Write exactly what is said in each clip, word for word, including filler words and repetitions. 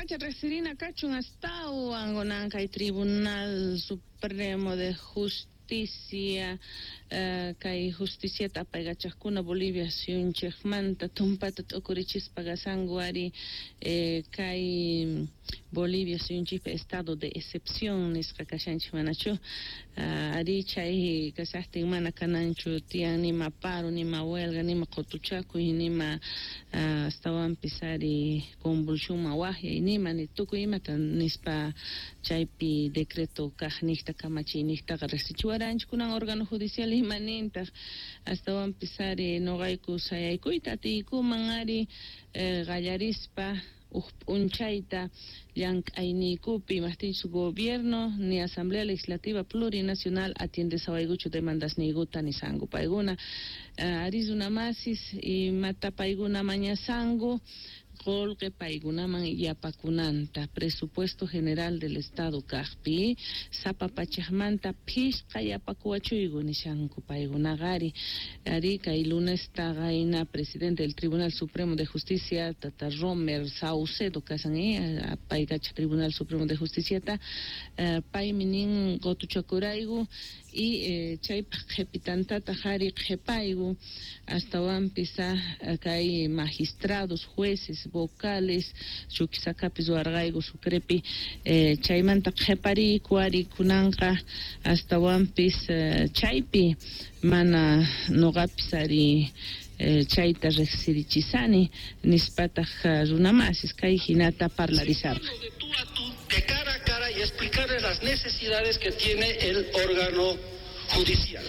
Chaypacha riqsirina kachun astawan kunan kay Tribunal Supremo de Justicia, uh, kay justiciata apaykachaqkuna Bolivia suyunchikmanta tumpata t'ukurichispa kasanku ari, eh, kay Bolivia suyunchikpi estado de excepción nisqa kashanchik, manachu? uh, ari chay kashaqtin mana kananchu tiyan nima paro, nima huelga, nima qutuchakuy, nima uh, astawanpis ari convulsionman waqyay, nima ni tukuy imata nispa chaypi decreto kaq niqta kamachiy niqtaqa riqsichiwaranchik. Kunan órgano judicial ima nintaq? Astawanpis ari nuqayku sayaykuyta atiykuman ari, eh, qallarispa uj p'unchayta llank'ayniykupi, imajtinchus gobierno ni Asamblea Legislativa Plurinacional atiendesawaykuchu demandasniykuta nisanku paykuna. uh, ari runamasis, imata paykuna mañasanku? Qolqe paykunaman yapakunanta presupuesto general del Estado kaqpi sapa pachaqmanta phishqa yapakuwachuyku nishanku paykunaqa ari. Ari kay lunesta qayna presidente del Tribunal Supremo de Justicia, tata Romer Saucedo kasan, eh, paykacha Tribunal Supremo de Justiciata, eh, paymi nin qutuchakurayku y eh, chaypaq qhipitantataq ari qhipayku astawanpis kay magistrados, jueces, vocales Chuquisacapis ruwarqayku Sucrepi, eh, chaymanta qhipariyku ari kunanqa astawanpis, eh, chaypi mana nuqapis ari, eh, chayta riqsirichisani nispataq runamasis kay hinata parlarisarqa. De cara a cara y explicarles las necesidades que tiene el órgano judicial.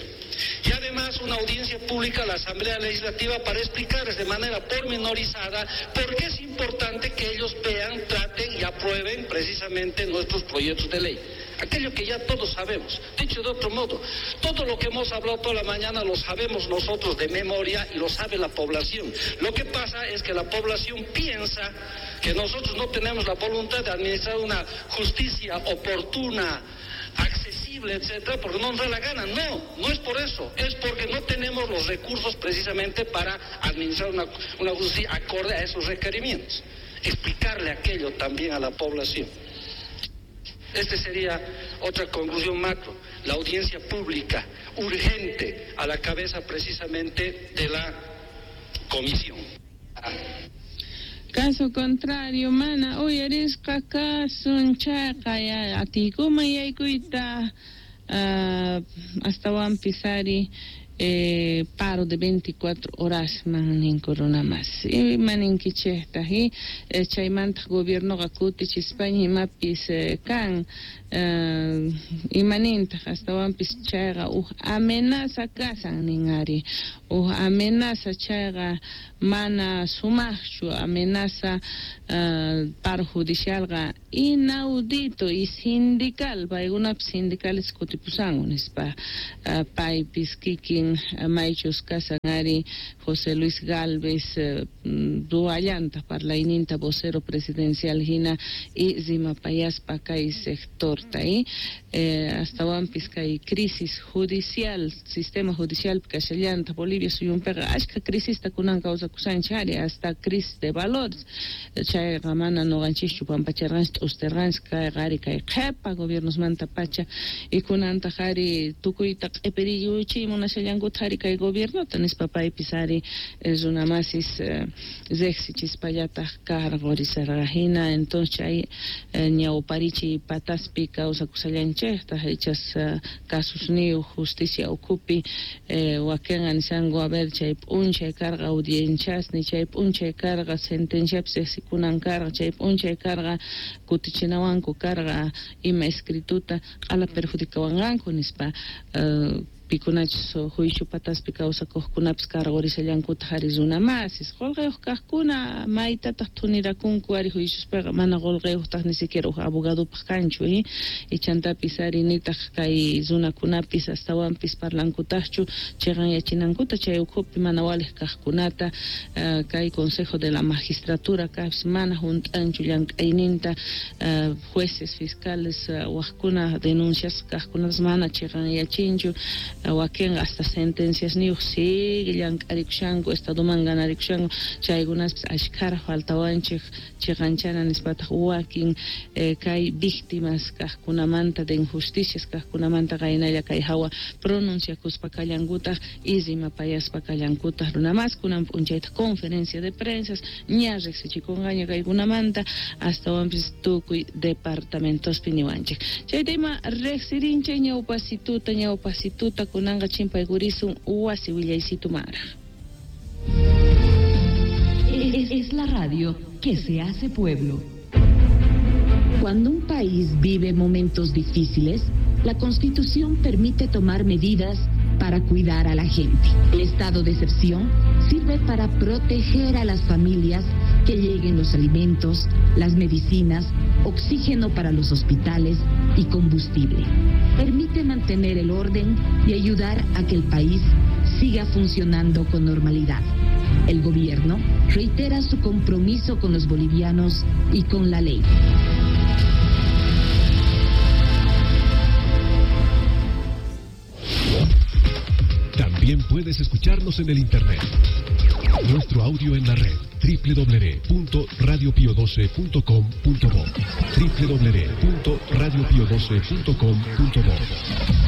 Y además una audiencia pública a la Asamblea Legislativa para explicarles de manera pormenorizada por qué es importante que ellos vean, traten y aprueben precisamente nuestros proyectos de ley. Aquello que ya todos sabemos. Dicho de otro modo, todo lo que hemos hablado toda la mañana lo sabemos nosotros de memoria y lo sabe la población. Lo que pasa es que la población piensa que nosotros no tenemos la voluntad de administrar una justicia oportuna, accesible, etcétera, porque no nos da la gana. No, no es por eso, es porque no tenemos los recursos precisamente para administrar una, una justicia acorde a esos requerimientos. Explicarle aquello también a la población. Esta sería otra conclusión macro, la audiencia pública urgente a la cabeza precisamente de la comisión. Caso contrario, mana uyarisqa kasun chayqa atiykuman yaykuyta, uh, astawanpis ari, eh, paro de veinticuatro horas man ninku runamas. Ima ninkichejtaj, y eh, chaymantaq gobiernoqa kutichispaña imapis, eh, kan, uh, ima nintaq astawanpis chayqa uj amenaza kasan nin ari, uj amenaza chayqa mana sumaqchu amenaza, uh, paro judicialqa inaudito y sindical, paykunapis sindicales kutipusanku nispa, uh, paypis kikin maychus kasan ari José Luis Galvez, uh, ruwallanta parlayninta vocero presidencial hina y rimapayaspa kay sectorta, y eh, astawanpis kay crisis judicial, sistema judicial kashallanta Bolivia suyunpiqa ashka crisista kunan kawsakusanchik ari, hasta crisis de valores chayqa mana nuqanchikchu pampacharqanchik t'ustirqanchik kayqa ari kay qhipa gobiernosmanta pacha y kunantaq ari tukuyta q'ipiriyuchiy munashallankuta ari kay gobiernota nispa paypis ari, eh, runamasis, eh, riqsichispallataq karqurisarqa hina. Entonces chay, eh, ñawparichiy pataspi kawsakusallanchiktaq ichas, eh, kasusniyuq justicia ukhupi, eh, wakinqa nishanku a ver chay p'unchay karqa audienciasni, chay p'unchay karqa sentenciapis riqsikunan karqa, chay p'unchay karqa kutichinawanku karqa ima escrituta q'ala perjudicawanqanku nispa, eh, pikunachus juicio pataspi kawsakuqkunapis karqurishallankutaq ari runamasis qullqiyuq kaqkuna maytataq thunirakunku ari juiciospiqa mana qullqiyuqtaq ni siquiera uj abogadopaq kanchu, eh? Ichantapis ari nitaq kay runakunapis astawanpis parlankutaqchu chiqanyachinankuta chay ukhupi mana waliq kaqkunata, uh, kay Consejo de la Magistratura kaqpis mana hunt'anchu llank'ayninta, uh, jueces, fiscales, uh, waqkuna denuncias kaqkunapas mana chiqanyachinchu. Wakinqa hasta sentenciasniyuq sigue llank'arikushanku, estadoman ganarikushanku, chaykunaspis ashkhara faltawanchik chiqanchana nispataq wakin eh, kay víctimas kaqkunamanta de injusticias kaqkunamanta qaynalla kay hawa pronunciakuspa kallankutaq y rimapayaspa kallankutaq runamas kunan p'unchaytaq conferencia de prensas ña riqsichikunqaña kaykunamanta astawanpis tukuy departamentospi niwanchik. Chayta ima riqsirinchik ñawpasituta ñawpasituta kunanqa chimpaykurisun wasi willaysitu maraj. Es, es la radio que se hace pueblo. Cuando un país vive momentos difíciles, la Constitución permite tomar medidas para cuidar a la gente. El estado de excepción sirve para proteger a las familias, que lleguen los alimentos, las medicinas, oxígeno para los hospitales y combustible. Permite mantener el orden y ayudar a que el país siga funcionando con normalidad. El gobierno reitera su compromiso con los bolivianos y con la ley. También puedes escucharnos en el internet. Nuestro audio en la red doble u doble u doble u punto radio pio doce punto com punto bo, doble u doble u doble u punto radio pio doce punto com punto bo.